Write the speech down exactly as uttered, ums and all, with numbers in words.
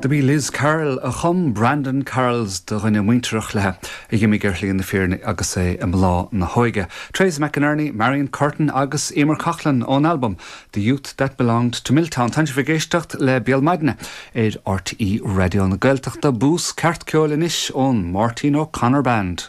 B'í Liz Carroll a chum Brandon Carols do dhuine muinteartha léi a d'imigh ar shlí na fírinne agus é i mbláth na hóige. Teresa McInerney, Marion Curtin agus Emer Coughlan ón album The Youth That Belonged to Milltown. Tá sibh ag éisteacht le Béal Maidine ar RTÉ Raidió na Gaeltachta bús ceart ceoil anois ón Máirtín O'Connor Band.